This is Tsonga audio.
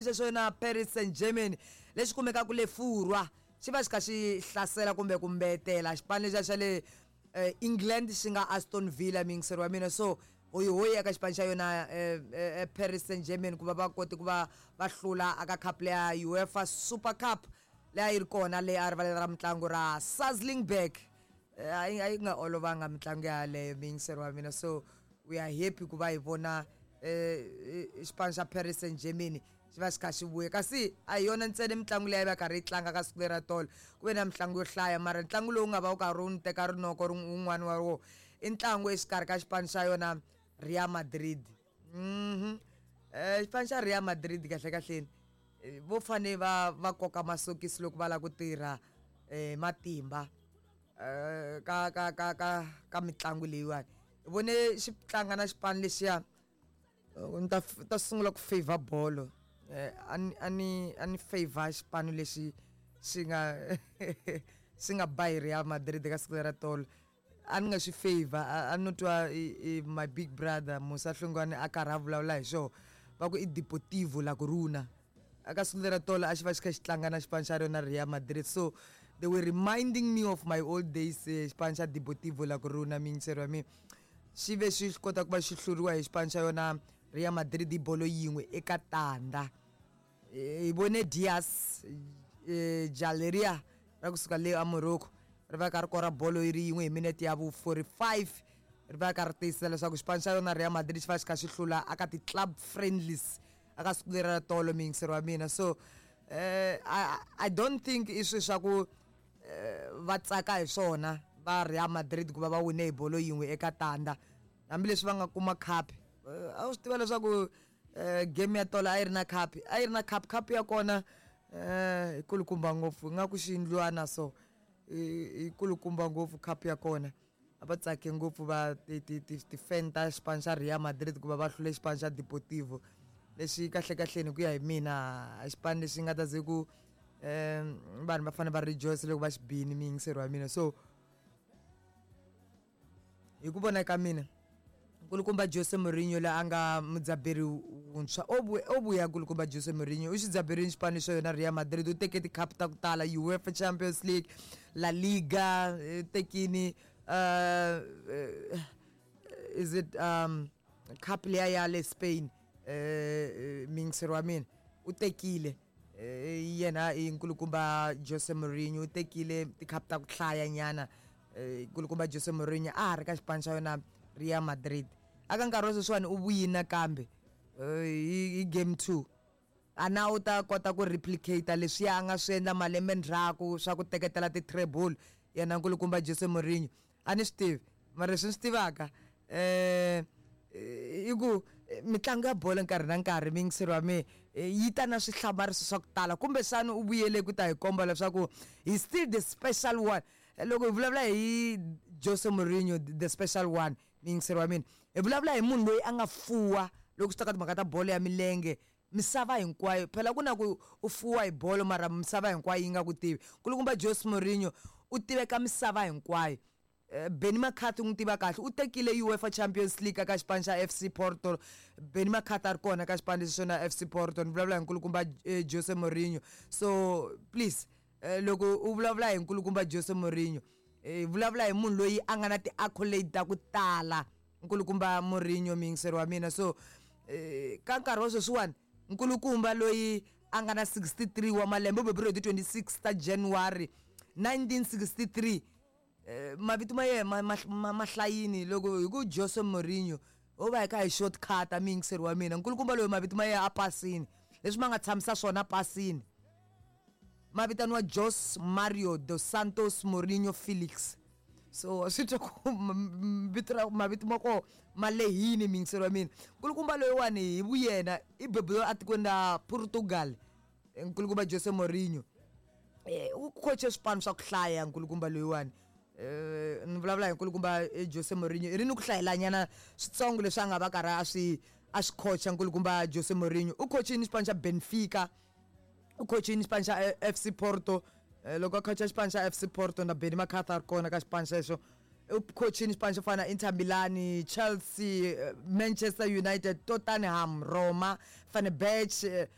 Xexo na Paris Saint-Germain lexi kumekaka le Furwa xi va xi kha xi hlasela kumbe ku mbetela xipano lexiya xa le eh, England xi nga Aston Villa miyingiseri wa mina. So hoyihoyi eka xipano xa yona eh, eh, Paris Saint-Germain ku va va kote ku va va hlula aka cup leya UEFA Super Cup leyi a yi ri kona le a rivaleni ra mitlangu ra Saslingberg. A yi nga olovanga mitlangu yaleyo, miyingiseri wa mina. So we are happy ku va hi vona xipano xa Paris Saint-Germain xi va xi kha xi vuya. Kasi a hi yona ntsena mitlangu leyi a yi va karhi yi tlanga ka siku lera tolo, ku ve na mitlangu yo hlaya, mara ntlangu lowu nga va wu karhi wu ni teka rinoko wun'wani wa wona i ntlangu exikarhi ka xipano xa yona Real Madrid. Xipano xa Real Madrid kahle kahleni vo fane va koka masokisi loko va lava ku tirha matimba ka mitlangu leyiwani. Hi vone xi tlanga na xipano lexiya, ni ta sungula ku favor bolo. A ni favor xipano lexi xi nga ba hi Real Madrid ka siku lera tolo. A ni nga xi favor, a no twa i my big brother Musa Hlongwane a karhi a vulavula hi xona, va ku i Deportivo La Coruna. Aka siku lera tolo a xi va xi kha xi tlanga na xipano xa rona Real Madrid, so they were reminding me of my old days. Xipano xa Deportivo La Coruna, miyingiseri wa mina, xi ve xi kota ku va xi hluriwa hi xipano xa yona Real Madrid hi bolo 1-0. Hi vone Diaz Jaleria ra kusuka le a Morocco ri va ka ri kora bolo yi ri yin'we hi minete ya vu 45, ri va ka ri tiyisisa leswaku xipano xa yona Real Madrid xi va xi kha xi hlula aka ti-club friendlies aka siku leri ra tolo, miyingiseri wa mina. So I don't think i swi swa ku va tsaka hi swona va Real Madrid ku va va wine hi bolo 1-0, hambileswi va nga kuma cup. A wu swi tiva leswaku game ya tolo a yi ri na cup, a yi ri na cup, cup ya kona yi kulukumba ngopfu, ingaku xiyindlwana, so yi kulukumba ngopfu cup ya kona. A va tsake ngopfu va ti-fan ta xipano xa Real Madrid ku va va hlule xipano xa Deportivo lexi kahle kahleni ku ya hi mina xipano lexi nga ta ze ku vanhu va fanele va rejoice loko va xi bini, miyingiseri wa mina. So hi ku vona ka mina, nkulukumba Jose Mourinho loyi a nga mudzaberi wuntshwa o vuya, nkulukumba Jose Mourinho u xi dzaberini xipano xa yona Real Madrid, u teke ti-cup ta ku tala, UEFA Champions League, La Liga, tekini is it cup liya ya le Spain, miyingiseri wa mina, u tekile yena i nkulukumba Jose Mourinho, u tekile ti-cup ta ku hlaya nyana. Nkulukumba Jose Mourinho a ha ri ka xipano xa yona Real Madrid. Aka nkarhi wa sweswiwani u vuyini nakambe hi game 2, a na u ta kota ku replicate leswiya a nga swi endla malembe ndzhaku swa ku teketela ti-treble yena nkulukumba Jose Mourinho. A ni swi tivi, mara leswi ni swi tivaka i ku mitlangu ya bolo nkarhi na nkarhi, miyingiseri wa mina, yi ta na swihlamariso swa ku tala. Kumbexana u vuyele ku ta hi komba leswaku he still the special one. Loko hi vulavula hi Jose Mourinho, the special one, miyingiseri wa mina, hi vulavula hi munhu loyi a nga fuwa loko swi ta ka timhaka ta bolo ya milenge misava hinkwayo. Phela ku na ku u fuwa hi bolo mara misava hinkwayo yi nga ku tivi. Nkulukumba Jose Mourinho u tiveka misava hinkwayo. Benny McCarthy n'wi tiva kahle, u tekile UEFA Champions League aka xipano xa FC Porto. Benny McCarthy a ri kona ka xipano lexi xona FC Porto. Ni vulavula hi nkulukumba Jose Mourinho. So please, loko u vulavula hi nkulukumba Jose Mourinho, vulavula hi munhu loyi a nga na ti-accolade ta ku tala, nkulukumba Mourinho, miyingiseri wa mina. So ka nkarhi wa sweswiwani, nkulukumba loyi a nga na 63 wa malembe, u beburiwe hi ti 26 ta January 1963. Mavito ma yena ma hlayini loko hi ku Jose Mourinho ho va hi kha hi shortcut, miyingiseri wa mina. Nkulukumba loyi mavito ma yena a pasini leswi ma nga tshamisa swona pasini, ma vitaniwa Jose Mario dos Santos Mourinho Felix. So swi twa ku vito ra mavito ma koho ma lehini, miyingiseri wa mina. Nkulukumba loyiwani hi vuyena i beburiwe atikweni ra Portugal. Nkulukumba Jose Mourinho u khoche swipano swa ku hlaya. Nkulukumba loyiwani, ni vulavula hi nkulukumba Jose Mourinho, i ri ni ku hlayelanyana switsongo leswi a nga va karhi a swi khocha. Nkulukumba Jose Mourinho u khochini xipano xa Benfica, u khochini xipano xa FC Porto. Loko a khocha xipano xa FC Porto na Benny McCarthy a ri kona ka xipano xexo. U khochini xipano xo fana na Inter Milan, Chelsea, Manchester United, Tottenham, Roma, Fenerbahce.